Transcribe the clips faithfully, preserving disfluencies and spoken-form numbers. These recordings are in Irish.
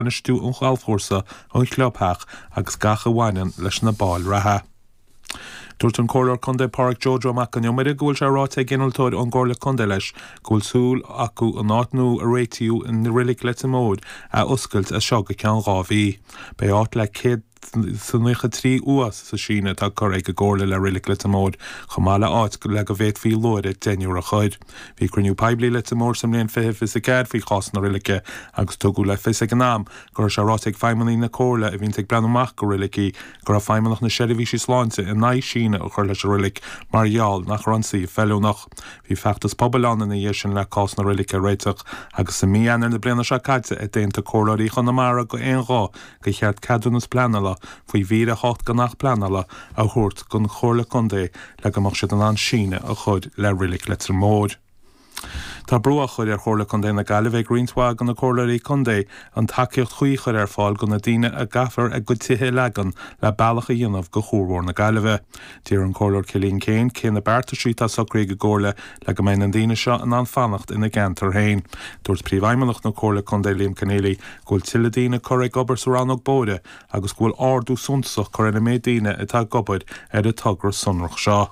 Bainistiú an ghalfchúrsa, an chlubtheach agus gach a bhaineann leis na baill reatha. Dúirt an Comhairleoir Contae Pádraig Joe Joe Mac an Iomaire go bhfuil sé ráite ag innealtóir ón gComhairle Contae leis go bhfuil súil acu an áit nua a réitíodh i Reilig Leitir Móir a oscailt as seo go ceann dhá mhí. Beidh áit le céad is nócha trí uaigh sa síneadh atá curtha ag an gComhairle le Reilig Leitir Móir, chomh maith le áit le go bhféadfaí luaithre deichniúr a chur. Bhí cruinniú poiblí i Leitir Móir sa mbliain fiche fiche a ceathair faoi chás na roilice agus tugadh le fios ag an am go raibh sé ráite ag feidhmeannaigh na Comhairle a bhíonns ag breathnú amach go roilicí go raibh Feidhmeannacht na Seirbhísí Sláinte in aghaidh síneadh a chur leis an roilic mar gheall nach raibh an suíomh feiliúnach. Bhí feachtas pobail ann ina dhiaidh sin le cás na roilice a réiteach agus i mí Eanáir na bliana seo caite a d'aontaigh comhairleoirí Chonamara d'aon ghuth gur cheart ceadúnas pleanála faoi mhír a hocht den Acht Pleanála a thabhairt don Chomhairle Contae le go mbeadh siad in ann síneadh a chur le Reilig Leitir Móir. Tá brú á chur ar Chomhairle Contae na Gaillimhe ag roinnt mhaith de na comhairleoirí contae an tacaíocht chuí a chur ar fáil do na daoine a gcaithfear a gcuid tithe a leagan le bealach a dhéanamh go Chuar Mhór na Gaillimhe. D'iarr an Comhairleoir Cillian Keane cé na beartaisí atá socraithe ag an gComhairle le go mbeidh na daoine seo in ann fanacht ina gceantar féin. Dúirt Príomhfheidhmeannach na Comhairle Contae Liam Conneally go bhfuil tuilleadh daoine curtha ag obair sa rannóg bóithre agus go bhfuil ardú suntasach curtha ar an méid daoine atá ag obair ar an togra sonrach seo.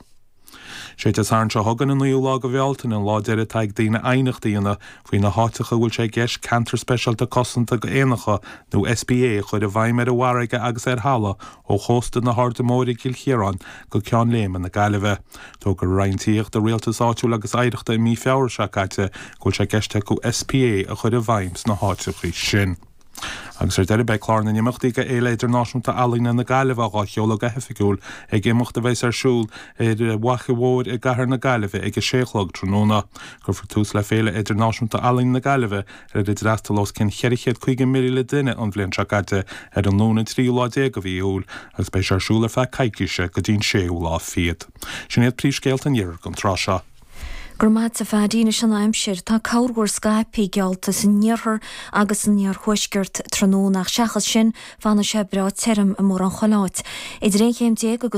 Sé Dé Sathairn seo chugainn an naoú lá de Bhealtaine an lá deiridh atá ag daoine aighneacht a dhéanamh faoi na háiteacha a bhfuil sé i gceist Ceantar Speisialta Cosanta d'Éanacha nó SPA a chur i bhfeidhm ar an bhfarraige agus ar thalamh ó chósta na hAirde Móire i gCill Chiaráin go Ceann Léime na Gaillimhe. D'fhógair an Roinn Tithíochta, Rialtais Áitiúil agus Oidhreachta i mí Feabhra seo caite go bhfuil sé i gceist acu SPA a chur i bhfeidhm sna háiteacha sin. Agus ar deireadh beidh clár na n-imeachtaí do Fhéile Idirnáisiúnta Ealaíne na Gaillimhe á sheoladh go hoifigiúil ag imeacht a bheas ar siúl ar Fhaiche Mhór i gcathair na Gaillimhe ag a sé a chlog tráthnóna. Cuirfear tús le Féile Idirnáisiúnta Ealaíne na Gaillimhe ar a d'fhreastail os cionn cheithre chéad caoga míle duine an bhliain seo caite ar an Luan an tríú lá déag de mhí Iúil agus beidh sé ar siúl ar feadh coicíse go dtí an séú lá fichead. Sin iad príomhscéalta an iarthair don tráth seo. Go raibh maith agat a Phaddy anois an aimsir, tá corrmhúr scaipthe geallta san iarthar agus san iarthuaisceart tráthnóna ach seachas sin fanfaidh sé breá tirim i mórán chuile áit. Idir aon chéim déag agus